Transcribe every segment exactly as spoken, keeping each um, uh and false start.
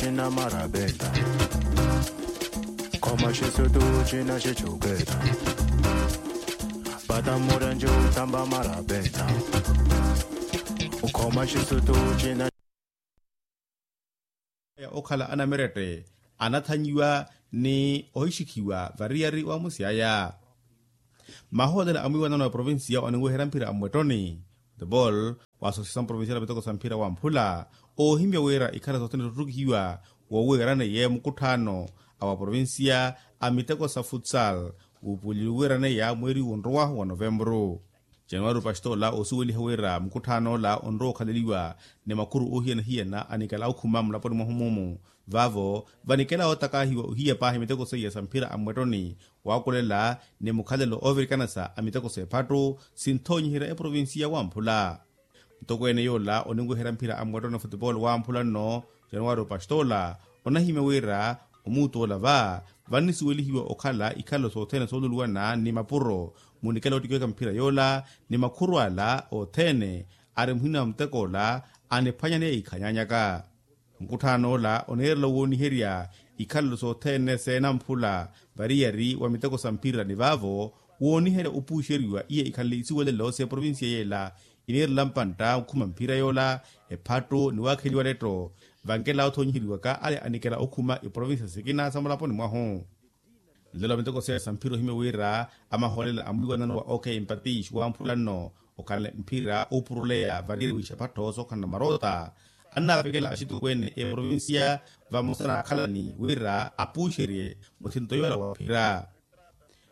Cina marabeta. Khoma xisutu cina xicuketa. Pata murenci utamba marabeta. Ukhoma xisutu cina. Ya okhala anamerette anathanyiwa ni ohixikhiwa variyari wa musyaya. Mahootela a mwiiwanano ya provincia oninweherya mphira a mmwettoni, football, wa associação provincial ya miteko sa mphira wa mphula, oohimya wira ikhara sothene soottukihiwa woowiiraneiye mukutthaano a wa provincia a miteko sa futsal, wuupuweliwe wiiraneya mweeri wonrowahu wa novembru. Januwari pastola oosuweliha wira mukutthaan'ola onrowa okhaleliwa ni makhuru oohiyana-hiyana anikela okhuma mulaponi mwahu mumu. Vaavo vanikela ootakaahiwa ohiya paahi miteko seiya sa mphira a mmwettoni, waakulela ni mukhalelo oovirikanasa a miteko s'ephattu sinthoonyiherya eprovincia wamphula. Mutokweene yoola oninweherya mphira a mmwettoni futipolo wamphula nno, januwari pastola, onahimya wira omuutu ola va vannisuwelihiwa okhala ikhalelo sothene sooluluwana ni mapuro, munikela ottikiveka mphira yoola ni makhuru ala othene ari muhina wa mutek'ola aniphwanyaneya ikhanyanyaka. Mukutthaan'ola oniirela wooniherya ikhalelo sothene seenamphula variyari wa miteko sa mphira ni vaavo wooniherya opuuxeriwa iya ikhanle isuwelelo s'eprovincia yeela. Iniirela mpantta okhuma mphira yoola ephattu ni waakheliwa letto, vankela othoonyiheryiwaka ale anikela okhuma iprovincia sikina sa mulaponi mwahu. Nlelo miteko seya sa mphira ohimya wira amahoolela a mwiiwanano wa ok mpatish wamphula nno okhanle mphira oopuruleya variyari wixaphattho sookhalana maroota, annaavekela axitokweene eprovincia vamosa n'akhalani wira apuuxerye muthinto yoola wa mphira.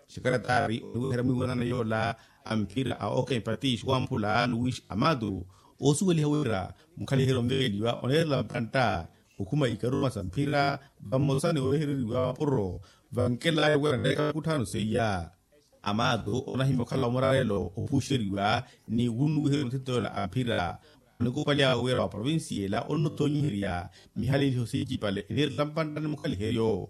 Xekaretari oniweherya mwiiwanano yoola a mphira a ok mpatish wamphula luis amatu, oosuweliha wira mukhaliheryo onvekeliwa oneerela mpantta okhuma ikaruma sa mphira vamosa ni owehereriwa mapuro, vankelaya wira neeka mukutthaano seiya. Amatu onahimya okhala omurarelo opuuxeriwa ni wunnuwiherya muthinto yoola a mphira. Onikupalyawe wira wa provincia ela onnothonyiherya mihaleliho sincipale eniirela mpantta ni mukhaliheryo.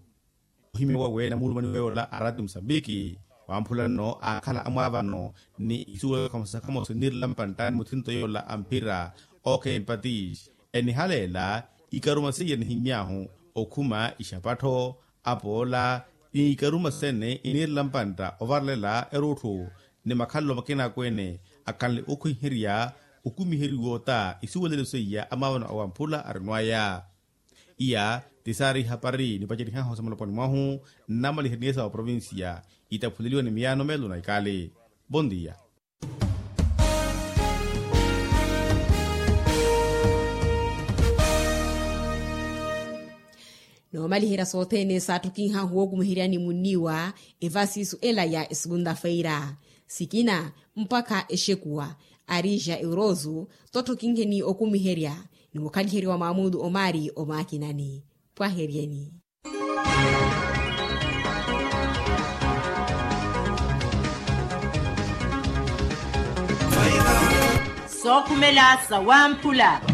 Ohimya wawe namulumani weyoola a rati musambiki wamphula nno aakhala amwaavano ni isuwelaka khamosa khamosa eniirela mpantta ni muthinto yoola a mphira. Ok mpatish enihaleela ikaruma seiya nihimy'ahu okhuma ixapattho apoola ni ikaruma sene iniirela mpantta ovarelela erutthu ni makhalelo makina akweene akhanle okhwiherya okumiheriwa ota isuwelelo seiya amaavano awamphula arinwaya. Iya ti saari ihapari nipacerih'ahu sa mulaponi mwahu nnamaliha niye sa wa provincia itaphuleliwa ni miyaano meelo na ikali. Bondia. Noomaliherya sothene saatthukinhahu wookumiheryani munniiwa evasisu ela ya esegunda feira sikina mpakha exekuwa arija eurozu. Totthokinheni okumiherya ni mukhaliheriwa maamudu omari omaakinani. Pwaheryeni. Sookhumela sawamphula.